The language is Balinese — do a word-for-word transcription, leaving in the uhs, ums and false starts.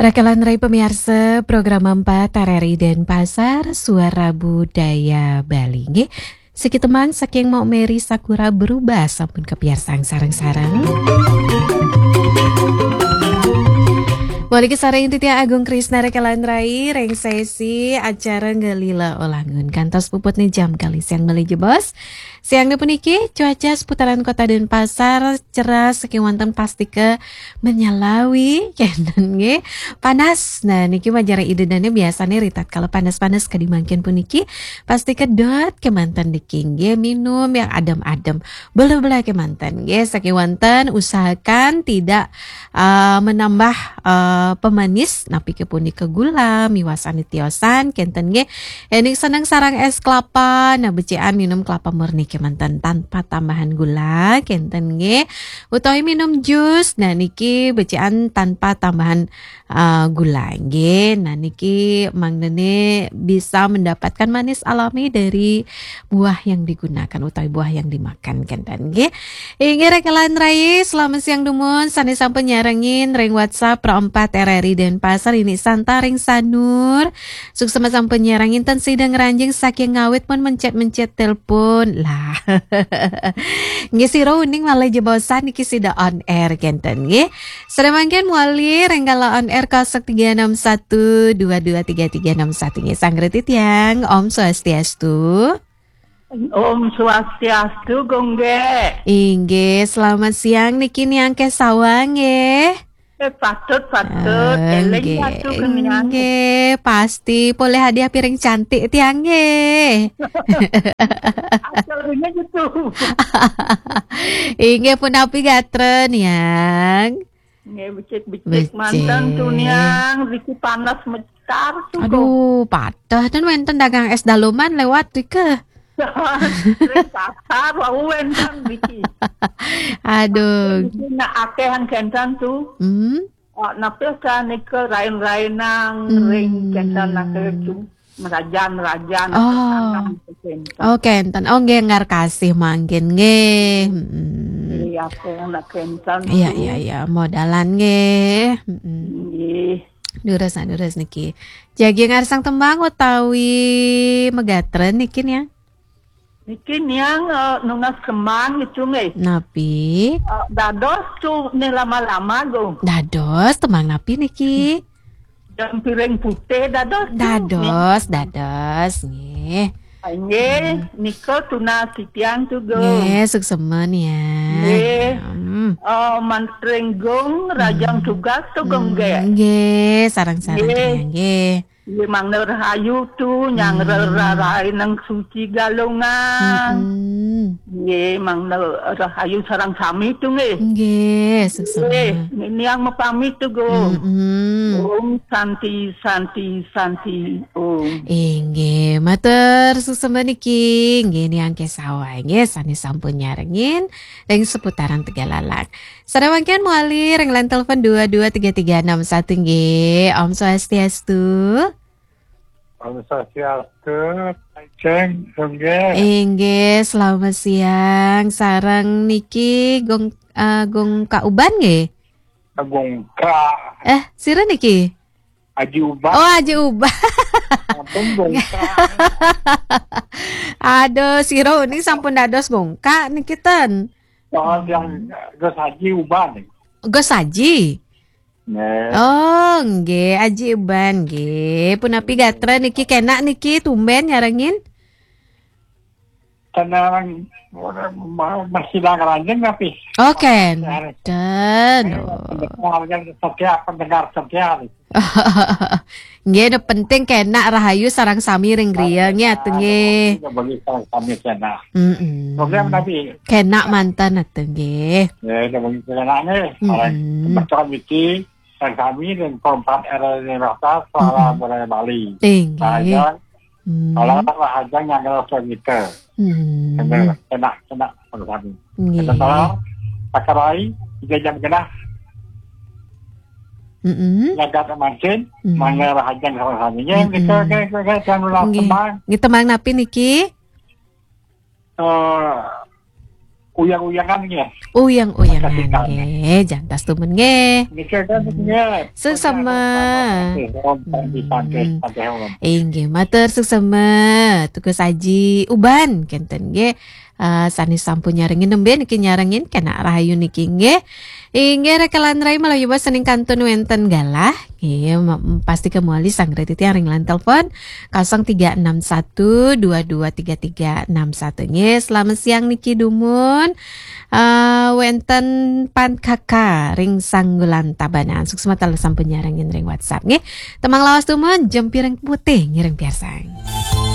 Raka lan rai pamiarsa, program empat R R I Denpasar, Suara Budaya Bali. Nggih, siki tembang saking Mok Meri Sakura Berubah sampun kapiarsang sareng-sareng. Malih sareng titiang Agung Krisna raka lan rai ring sesi acara Ngelila Olangun. Kantos puputne jam kalih siang malih jebos. Siang puniki cuaca seputaran Kota Denpasar cerah saking wonten pastika menyalawi kenten nggih. Panas. Nah, niki majeng ida dane biasane ritatkala panas-panas kadi mangkin puniki pastika dot kemanten niki nggih, minum yang adem-adem. Bela-bela kemanten nggih, saking wonten usahakan tidak, eh, menambah, eh, pemanis, napi ke punika gula, miwasane tiosan kenten nggih. Ening seneng sareng es kelapa, nah, becikan minum kelapa murni kemanten tanpa tambahan gula kenten nggih. Utawi minum jus, nah, niki becikan tanpa tambahan, eh, gula nggih. Nah, niki mangdane bisa mendapatkan manis alami dari buah yang digunakan utawi buah yang dimakan kenten nggih. Inggih raka lan rai, selamat siang dumun sane sampun nyarengin ring WhatsApp Pro empat R R I Denpasar, ini Santa ring Sanur. Suksma sampun nyarengin ten sida ngranjing saking ngawit pun mencet-mencet telepon. Lah. Nggih sira uning malih jebosan niki sida on air kenten nggih. Sare mangkin malih ring kala on air kosong tiga enam satu dua dua tiga tiga enam satu nggih. Sang Reti tiang, Om Swastiastu. Om Swastiastu, Gung nggih. Inggih, selamat siang niki Niang Kesawa nggih. Eh, patut, patut. Eh, Eling nggih, patut ke Niang. Nggih, pasti polih hadiah piring cantik tiang nggih. Asalnya gitu. Inggih punapi gatra Niang. Nggih, becik-becik. Becik. Manten tu Niang, riki panas mecar tu. Aduh, patah dan wenten dagang es daloman lewat rike. Ring pasar wau wenten riki. Aduh. Riki nak akehan kenten tu. Hmm. Oh, napi ka nika rain-rainang. Hmm. Ring kenten nak tu. Merajan-merajan. Oh. Kenten. Oh, kenten. Oh, nggih, ngar kasih mangkin nggih. Mm-mm. Iya, aku nak kenten. Iya, tu. Iya, iya, modalan nggih. Mm-mm. Nggih. Durus, durus niki. Jagi ngarsang tembang utawi megatra niki Niang? Niki Niang, eh, nunas kemang gitu nggih. Napi? Eh, dados tu ni lama-lama go. Dados tembang napi niki? Dan piring putih dados tu. Dados, Niang. Dados nggih. Nggih, hmm. Nika tunas titiang tu, Gung. Nggih, suksma Niang. Nggih. Hmm. Oh, mantring Gung, rajang, hmm, tugas tu, Gung, hmm, nggih. Nggih, sareng-sareng, nggih. Niang, nggih. Nggih, mangda rahayu tu, nyang, hmm, ra-, ra-, rahayu nang suci galungan. Hmm. Nggih, mangda rahayu sareng sami tu, nggih. Nggih, suksma. Nggih, Niang mapamit tu, Gung. Hmm. Om Santi, Santi, Santi, Om. Inggih, matur suksma niki, nggih Niang Kesawa, nggih, sane sampun nyarengin ring seputaran Tegalalang. Sare mangkin malih ring line telepon dua dua tiga tiga enam satu, nggih. Om Swastiastu. Om Swastiastu, Ceng, nggih. Inggih, selamat siang. Sareng niki Gung, eh, Gung Ka Uban, nggih? Gung Ka. Eh, sira niki? Aji Uban. Oh, Aji Uban. Ampun, Gung Ka. Aduh, sira uning sampun dados Gung Ka niki ten. Oh, yang Gus Aji Uban. Gus Aji? Nggih. Oh, nggih, Aji Uban, nggih. Punapi gatra niki, kenak niki tumben nyarengin? Tenang, ma-, masih dah ranjing tapi. Oh, kenten. Pendengar yang setia, pendengar setia. Nggih, nu penting kenak rahayu sareng sami ring griya, nggih, atu, nggih. Bagi sareng sami kenak. Mm-mm. Program tapi. Kenak manten, atu, nggih. Ya, udah bagi kenak nih. Mm-mm. Sareng kebetulan iki, sareng sami ring Pro empat R R I Denpasar, Suara, mm-mm, Budaya Bali. Inggih. Sareng Hmm. Kalau rahajeng nyanggra sangita. Hmm. Kena, kena, kena. Nggih. Kena tolong, Pak Karai, tiga jam genah. Mm-mm. Nyagat mancin, mm-mm, mangga rahajeng sama-sama. Nggih, mm-mm, kita, kita, kita, kita nular. Nggih. Tembang. Nggih, tembang napi niki? Eh, Uyang-uyangan nggih. Uyang-uyangan Kasih kami. Nggih, jantas tumun nggih. Nggih, kan, nggih. Suksma. Om, Santi, Santi, Hmm. Santi, Om. Inggih, matur suksma. Tugas Aji Uban kenten nggih. Eh, sanes sampun nyarengin nembe niki nyarengin kena rahayu niki nggih. Inggih rekelan rai malah yuba sening kantun wenten galah. Nggih, ma- pasti kemuli sanggra titiang ring line telepon kosong tiga enam satu dua dua tiga tiga enam satu nggih. Selamat siang niki dumun. Eh, wenten Pan Kaka ring Sanggulan Tabanan. Suksma taler sampun nyarengin ring WhatsApp nggih. Temang lawas dumun, Jempireng Putih ngiring piarsang.